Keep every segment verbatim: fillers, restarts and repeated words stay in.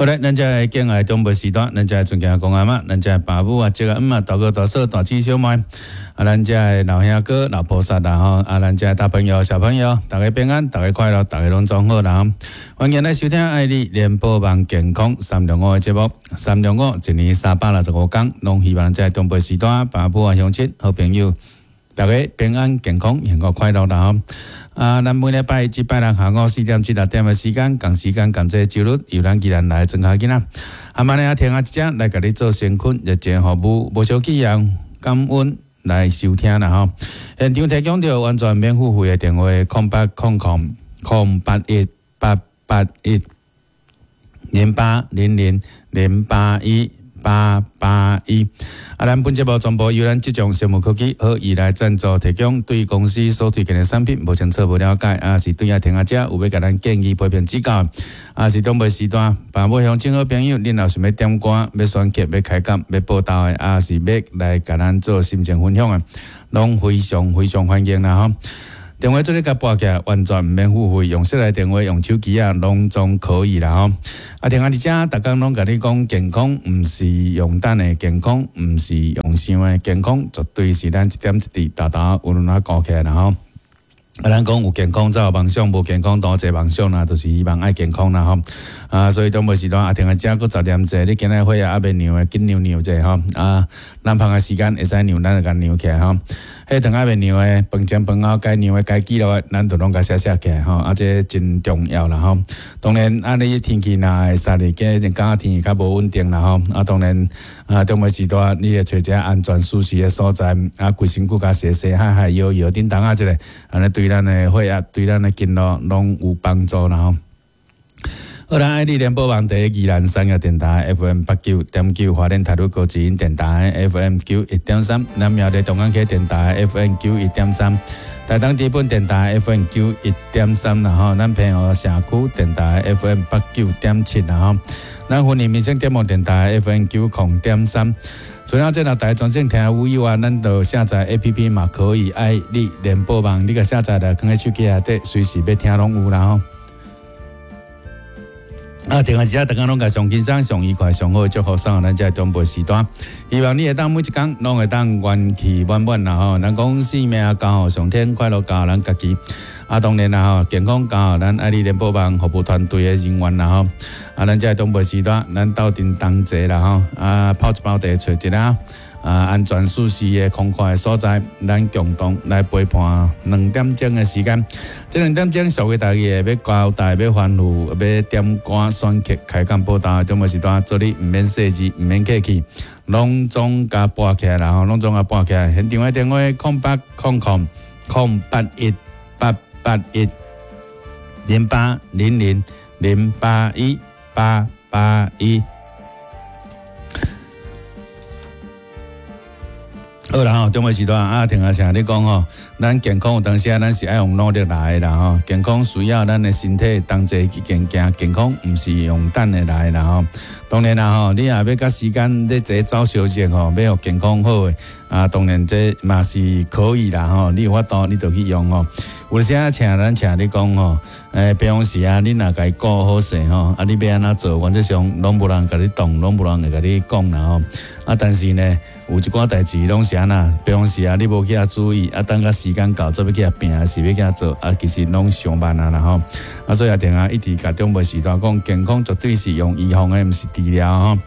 好咧，咱遮的敬愛長輩時段，咱遮的尊敬的公阿媽，咱遮的爸母啊、叔啊、姆啊、大哥大嫂、大姊小妹，啊，咱遮的老兄哥、老菩薩啦吼，啊，咱遮的大朋友、小朋友，大家平安，大家快樂，大家攏總好啦。歡迎來收聽愛麗聯播網健康三六五的節目，三六五一年三百六十五天，攏希望遮的長輩時段，爸母啊、鄉親、好朋友，大家平安健康、幸福快樂啦吼！啊，咱每禮拜一拜六下午四點至六點的時間，仝時間仝這個週日，由咱宜蘭來莊跤囡仔，啊，嘛呢啊聽啊一隻來共你做善款熱情服務，無小氣人感恩來收聽啦吼。現場提供著完全免付費的電話：空八空空空八一八八一零八零零零八一八八一。啊，咱本節目全部由咱這種生物科技好意來贊助提供，對公司所推薦的產品無清楚無了解，啊是對啊聽啊者有欲共咱建議批評指教，啊是長輩時段，爸母鄉親好朋友，恁若想欲點歌、欲選曲、欲開講、欲報道的，啊是欲來共咱做心情分享的，攏非常非常歡迎啦吼。電話做你共撥起來，完全毋免付費，用手提電話、用手機啊，攏總可以啦吼。啊，聽啊，佇遮，逐工攏共你講，健康毋是用等的，健康毋是用想的，健康絕對是咱一點一滴、沓沓有兩仔顧起來啦吼。啊，咱講有健康才有夢想，無健康當做夢想啦，就是希望愛健康啦吼。啊，所以長輩時段啊，聽下遮閣雜念者，你今仔血壓猶未量的，緊量量者吼。啊，咱芳的時間會使量，咱就共量起來吼。血糖猶未量的，飯前飯後該量的、該記錄的，咱就攏共寫寫起來吼。啊，這真重要啦吼。當然，啊，你天氣若會曬日，今日感覺天氣較無穩定啦吼。啊，當然，啊，長輩時段你會揣一個安全舒適的所在，啊，規身軀共洗洗、揩揩、搖搖，叮當啊，這個，按呢對咱的血壓、對咱的經絡攏有幫助啦吼。好啦，愛麗聯播網佇宜蘭商業電台 F M 八九點九，花蓮台北高知音電台 F M 九一點三，南苗栗東港區電台 F M 九一點三，台東知本電台 F M 九一點三啦吼，咱澎湖社區電台 F M 八九點七啦吼，咱雲林民生點播電台 F M 九空點三。除了這六台全省聽有以外，咱就下載 A P P 嘛可以，愛麗聯播網，你共下載來，囥佇手機內底，隨時欲聽攏有啦吼。啊，聽下這，逐工攏共上輕鬆、上愉快、上好的祝福送予咱這長輩時段。希望你會當每一工攏會當元氣滿滿啦吼。咱講生命交予上天，快樂交予咱家己。啊，當然啦吼，健康交予咱愛麗聯播網服務團隊的人員啦吼。啊，咱這長輩時段，咱鬥陣同齊啦吼。啊，泡一包茶，揣一个啊安全舒適的空曠的所在，咱共同來陪伴兩點鐘的時間。這兩點鐘屬於大家的，欲交代、欲吩咐、欲點歌、選曲、開講報道，長輩時段做你毋免細緻，毋免客氣，攏總共撥起來啦吼，攏總共撥起來。現場的電話：空八空空空八一八八一零八零零零八一八八一。好啦吼，長輩時段啊，聽阿聲你講吼，咱健康有當時啊，咱是愛用努力來的啦吼。健康需要咱的身體同齊去前行，健康毋是用等的來的啦吼。當然啦吼，你若欲佮時間咧坐走相爭吼，欲予健康好的啊，當然這嘛是可以啦吼。你有法度，你就去用吼。有時啊，請咱請你講吼，欸，平常時啊，你若共伊顧好勢吼，啊，你欲按怎做，原則上攏無人共你擋，攏無人會共你講啦吼。啊，但是呢，有一寡代誌攏是按怎，平常時啊，你無去遐注意，啊，等到時間到，做欲去遐拚，還是欲去遐做，啊，其實攏傷慢啊啦吼。啊，所以也定啊，一直共長輩時段講，健康絕對是用預防的，毋是治療吼。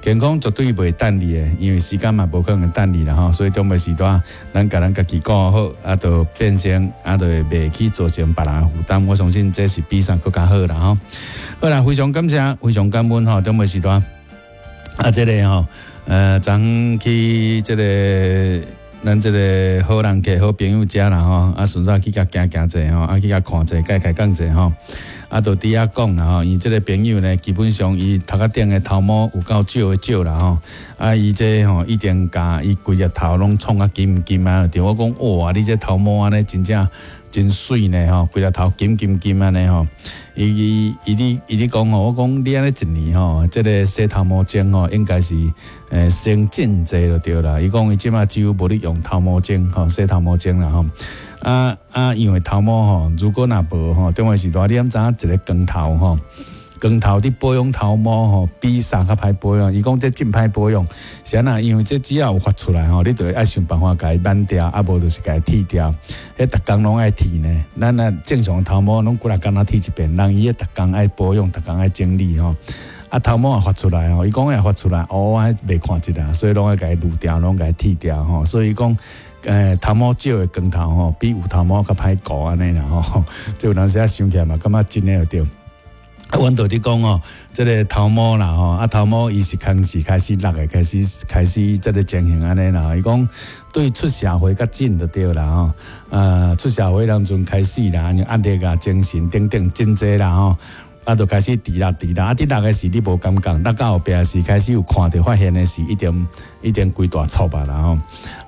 健康絕對袂等你的，因為時間嘛無可能等你啦吼。所以長輩時段，咱共咱家己顧好，啊，就變成啊，就會袂去造成別人的負擔。我相信這是比啥閣較好啦吼。好啦，非常感謝，非常感恩吼，長輩時段。啊，這個吼，呃，昨昏去這個咱這個好人客、好朋友遮啦吼，啊，順便去共行行者吼，啊，去共看者，共開講者吼，啊，就佇遐講啦吼，伊這個朋友呢，基本上伊頭殼頂的頭毛有夠少的少啦吼，啊，伊這吼一定共伊規隻頭攏創甲金金啊，對我講哇，你這頭毛按呢真正真媠呢吼，規隻頭金金金按呢吼，伊伊伊咧伊咧講吼，我講你按呢一年吼，這個洗頭毛精吼，應該是欸省真濟就對啦。伊講伊這馬幾乎無咧用頭毛精吼，洗頭毛精啦吼。啊啊，因為頭毛吼，如果若無吼，中午時段你敢知影一个光頭吼，光頭佇保養頭毛吼，比啥較歹保養？伊講這真歹保養，是按怎？因為這只要有發出來吼，你就愛想辦法共伊挽掉，啊無就是共伊剃掉。彼逐工攏愛剃呢。咱啊正常頭毛攏幾若工仔剃一遍，人伊彼逐工愛保養，逐工愛整理吼。啊頭毛也發出來吼，伊講會發出來，哦，我袂看一下，所以攏愛共伊擼掉，攏共伊剃掉吼。所以講，欸，頭毛少的光頭吼，比有頭毛較歹顧按呢啦吼。這有當時仔想起來嘛，感覺真的對。啊，阮就佇講吼，這个頭毛啦吼，啊頭毛伊是開始開始落的，開始開始這个情形按呢啦。伊講對出社會較緊就對啦吼，呃，出社會當陣開始啦，壓力啊、精神等等真濟啦吼。啊，就開始除落除落，啊，佇落的時你無感覺，落到後壁時開始有看著發現的時，一定一定規大撮啊啦吼，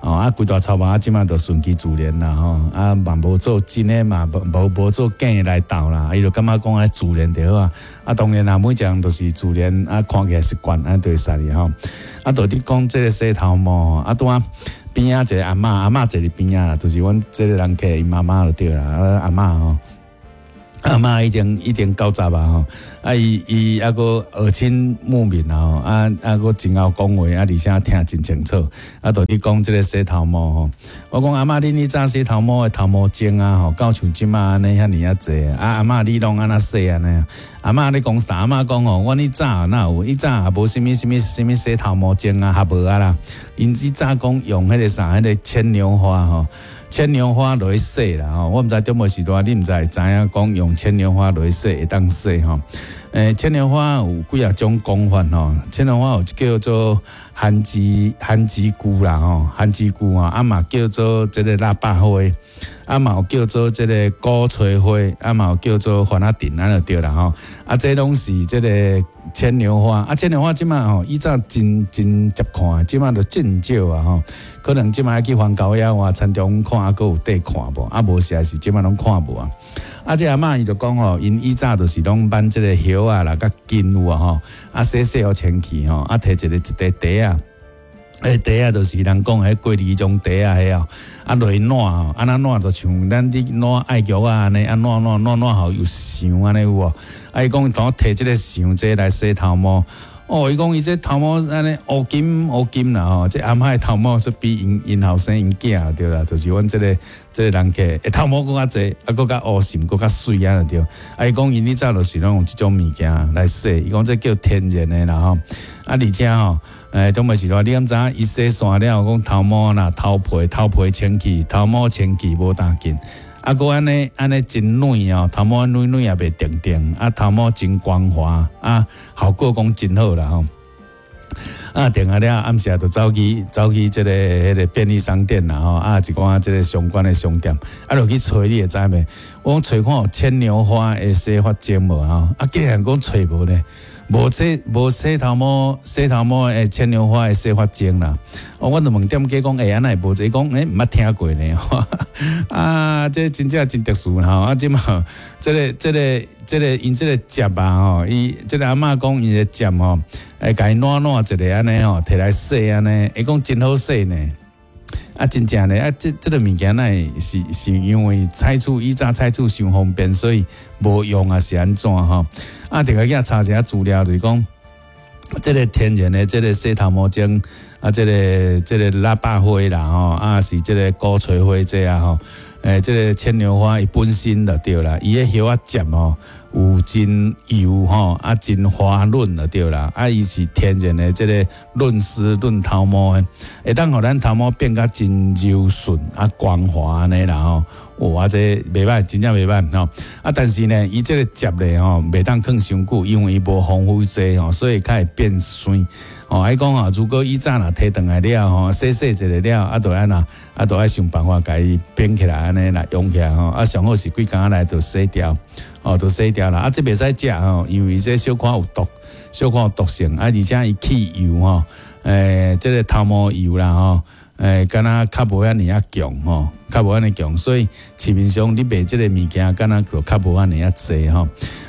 哦，啊，規大撮啊，這馬就順其自然啦吼，啊，嘛無做真的嘛，無無做假的來鬥啦，伊就感覺講愛自然就好啊，啊，當然啦，每一項都是自然，啊，看起來習慣，啊，就會使哩吼，啊，就佇講這个洗頭毛，啊，拄仔邊仔一个阿嬤，阿嬤坐佇邊仔啦，就是阮這个人客𪜶媽媽就對啦，啊，阿嬤吼。阿嬤已經已經九十啊吼，啊伊伊猶閣耳聰目明啊吼，啊啊閣真𠢕講話，啊而且聽真清楚，啊就佇講這个洗頭毛吼，我講阿嬤，恁以早洗頭毛的頭毛精啊吼，敢有像這馬按呢遐爾仔濟啊？阿嬤你攏按怎洗按呢？阿嬤咧講啥？阿嬤講吼，阮以早哪有？以早也無啥物啥物啥物洗頭毛精啊，也無啊啦。𪜶以早講用彼个啥，彼个牽牛花吼。牽牛花落去洗啦吼，我毋知中無時代，你毋知會知影講用牽牛花落去洗會當洗吼。欸，牽牛花有幾仔種講法吼，牽牛花有叫做番薯番薯菇啦吼，番薯菇啊，啊嘛叫做這个喇叭花，啊嘛有叫做這个鼓吹花，啊嘛有叫做番仔藤，按呢就對啦吼。啊，這攏是這个牽牛花，啊牽牛花這馬吼，以早真真捷看，這馬就真少啊吼。可能這馬愛去環球野外田中看，猶閣有得看無？啊無實在是這馬攏看無啊。啊，這阿嬤伊就講吼，𪜶以早就是攏挽這个葉仔啦，佮根有啊吼，啊洗洗予清氣吼，啊提一个一塊袋仔，彼袋仔就是人講彼過濾種袋仔彼哦，啊落去湠吼，啊那湠就像咱佇湠愛玉仔按呢，啊湠湠湠湠予有霜按呢有無？啊伊講當提這个霜這來洗頭毛。哦，伊講伊這頭毛按呢烏金烏金啦吼，這阿嬤的頭毛說比𪜶𪜶後生𪜶囝對啦，就是阮這个這个人客，欸頭毛閣較濟，啊閣較烏深，閣較媠按呢對。啊伊講𪜶以早就是攏用這種物件來洗，伊講這叫天然的啦吼。啊而且吼，欸，中尾時代你敢知影？伊洗煞了，講頭毛啦、頭皮、頭皮清氣，頭毛清氣無打緊。啊，閣按呢按呢真軟哦，頭毛軟軟也袂定定，啊頭毛真光滑，啊效果講真好啦吼。啊，定啊了，暗時就走去走去這个彼个便利商店啦吼，啊一寡這个相關的商店，啊落去揣你會知袂？我講揣看有牽牛花的洗髮精無吼？啊竟然講揣無呢，無洗無洗頭毛洗頭毛的牽牛花的洗髮精啦。哦，我就問店家講，欸，按怎會無這？伊講，欸，毋捌聽過呢。啊，這真正真特殊吼。啊，這馬這个這个這个𪜶這个汁啊吼，伊這个阿嬤講𪜶的汁吼，會共伊湠湠一个按呢吼，提來洗按呢，伊講真好洗呢。啊，真正呢，啊，這這个物件哪會是是因為採取以早採取傷方便，所以無用啊，是按怎吼？啊，這个去查一下資料，就是講，這个天然的這个洗頭毛精，啊，這个這个喇叭花啦吼，啊是這个鼓吹花這啊吼，欸，這个牽牛花伊本身就對啦，伊的葉仔汁吼有真油吼，啊真滑潤就對啦，啊伊是天然的這个潤絲潤頭毛的，會當予咱頭毛變甲真柔順啊光滑按呢啦吼。哇，這袂䆀，真正袂䆀吼。啊，但是呢，伊這个汁咧吼，袂當囥傷久，因為伊無防腐劑吼，所以較會變酸。哦，伊講吼，如果以早若提轉來了吼，洗洗一下了，啊，就按怎，啊，就愛想辦法共伊變起來按呢來用起來吼。啊，上好是規工來就洗掉，哦，就洗掉啦。啊，這袂使食吼，因為這小可有毒，小可有毒性。啊，而且伊去油吼，欸，這个頭毛油啦吼。欸，敢若較無遐爾仔強吼，較無遐爾強，所以市面上你賣這个物件，敢若就較無遐爾仔濟吼。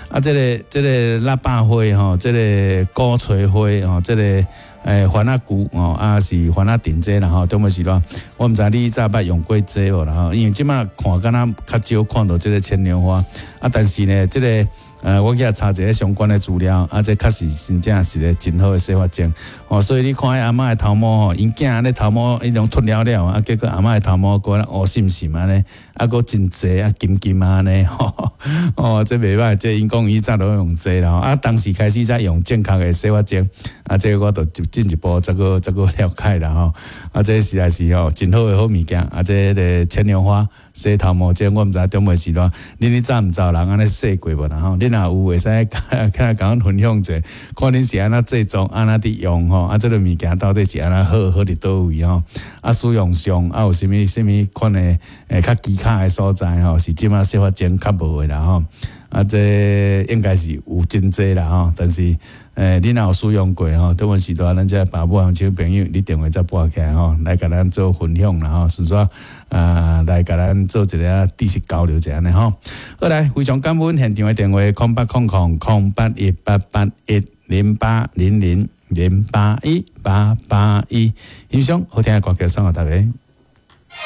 啊，這个這个喇叭花吼，這个鼓吹花吼，這个欸番仔菇吼，啊是番仔藤這啦吼，中尾時段，我毋知你早捌用過這無啦吼，因為這馬看敢若較少看著這个牽牛花，啊，但是呢，這个呃，我去查一下相關的資料，啊，這確實真正是個真好的洗髮精，哦，所以你看彼阿嬤的頭毛吼，𪜶囝咧頭毛彼種脫了了，啊，結果阿嬤的頭毛閣烏滲滲按呢，啊，閣真濟啊，金金按呢，哦，這袂䆀，這𪜶講以前都用這啦，啊，當時開始才用正確的洗髮精，啊，這個我就進一步再閣再閣了解啦吼，啊，這實在是吼真好的好物件，啊，這个牽牛花洗頭毛精，我毋知中尾時段，恁咧早毋知有人按呢洗過無啦吼？恁若有會使較共阮分享者，看恁是按怎製作，按怎佇用吼？啊，這个物件到底是按怎好，好佇佗位吼？啊，使用上啊有啥物啥物款的會較技巧的所在吼？是這馬洗髮精較無的啦吼？啊，這應該是有真濟啦吼，但是欸，你若有使用過吼，中文時代咱這爸母小朋友，你電話再撥起來吼，來共咱做分享啦吼，順紲啊來共咱做一个知識交流一下呢吼。好來，非常感恩現場的電話：空八空空空八一八八一零八零零零八一八八一，欣賞好聽的歌曲送予大家。